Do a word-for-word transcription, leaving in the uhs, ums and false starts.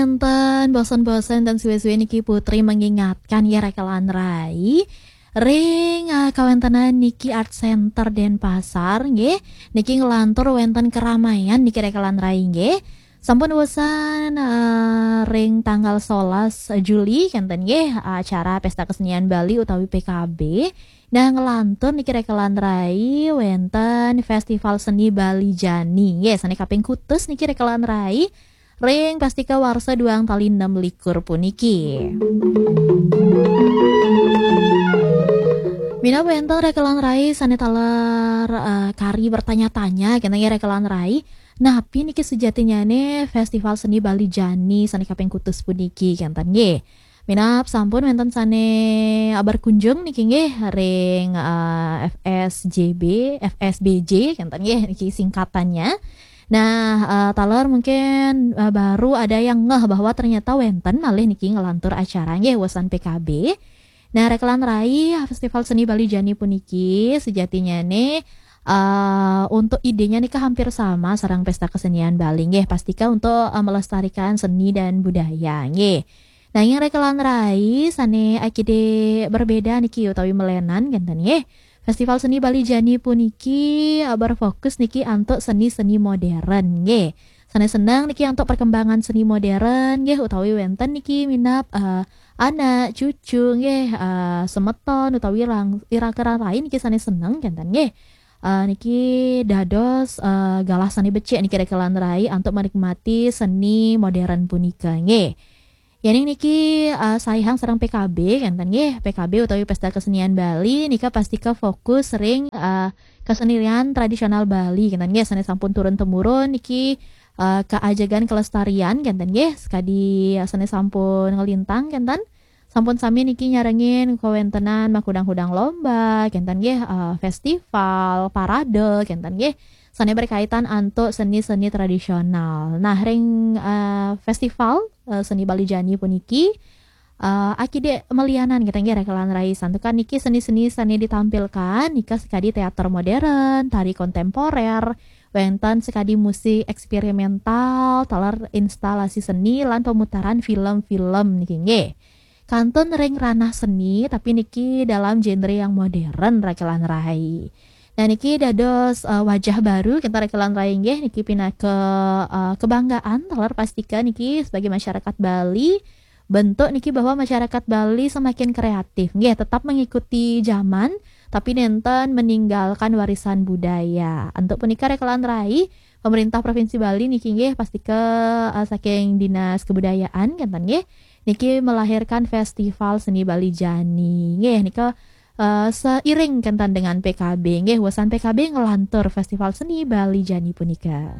Enten bosen-bosen dan suwe-suwe niki Putri mengingatkan ya rekelan rai. Ring uh, kawentenan niki Art Center Denpasar nggih. Niki ngelantur wenten keramaian niki rekelan rai nggih. Sampun wusan uh, ring tanggal solas Juli kenten nggih acara Pesta Kesenian Bali utawi P K B. Nah, ngelantur niki rekelan rai wenten Festival Seni Bali Jani. Nggih, sane kaping kutus niki rekelan rai. Ring pastika warsa duang tali enam likur puniki. Minab wenten rekelan rai sane taler uh, kari bertanya-tanya kenten nggih rekelan rai. Napi niki sejatinyane Festival Seni Bali Jani sane kaping kutus puniki kenten nggih. Minab sampun wenten sane berkunjung niki nggih ring uh, F S J B, F S B J kenten nggih niki singkatannya. Nah, uh, taler mungkin uh, baru ada yang ngeh bahwa ternyata wenten malih niki ngelantur acara nggih wusan P K B. Nah, rekelan rai Festival Seni Bali Jani puniki sejatinya nih uh, untuk idenya nika hampir sama sareng Pesta Kesenian Bali nggih, pastika untuk uh, melestarikan seni dan budaya nggih. Nah, yang rekelan rai sane akide berbeda niki utawi melenan kenten nggih. Festival Seni Bali Jani puniki uh, berfokus niki antuk seni-seni modern nggih. Sane seneng niki antuk perkembangan seni modern nggih utawi wenten niki minab uh, anak cucu nggih uh, semeton utawi rang, ira-kira lain niki sane seneng kenten nggih. Uh, niki dados uh, galah sane becik niki rekelan rai antuk menikmati seni modern punika nggih. Yening niki uh, saihang sareng P K B kenten nggih, P K B utawi Pesta Kesenian Bali nika pastika fokus ring uh, kesenian tradisional Bali kenten nggih, sane sampun turun temurun niki uh, keajegan kelestarian kenten nggih, sekadi uh, sane sampun ngelintang kenten. Sampun sami niki nyarengin kawentenan makudang-kudang lomba kenten nggih, uh, festival, parade kenten nggih. Sane berkaitan antuk seni-seni tradisional. Nah, ring uh, festival uh, seni Bali Jani puniki uh, akide melianan kita nggih rekelan rai santukan niki seni-seni sane ditampilkan nika sekadi teater modern, tari kontemporer, wenten sekadi musik eksperimental, taler instalasi seni lan pemutaran film-film niki nggih. Kantun ring ranah seni tapi niki dalam genre yang modern rekelan rai. Nah, niki dados uh, wajah baru kita rekelan rai nggih niki pinaka uh, kebanggaan taler pastika niki sebagai masyarakat Bali. Bentuk niki bahwa masyarakat Bali semakin kreatif nggih, tetap mengikuti zaman tapi nenten meninggalkan warisan budaya. Antuk punika rekelan rai pemerintah Provinsi Bali niki nggih pastika uh, saking Dinas Kebudayaan kenten nggih niki melahirkan Festival Seni Bali Jani nggih nika uh, seiring kenten dengan P K B nggih, wusan P K B ngelantur Festival Seni Bali Jani punika.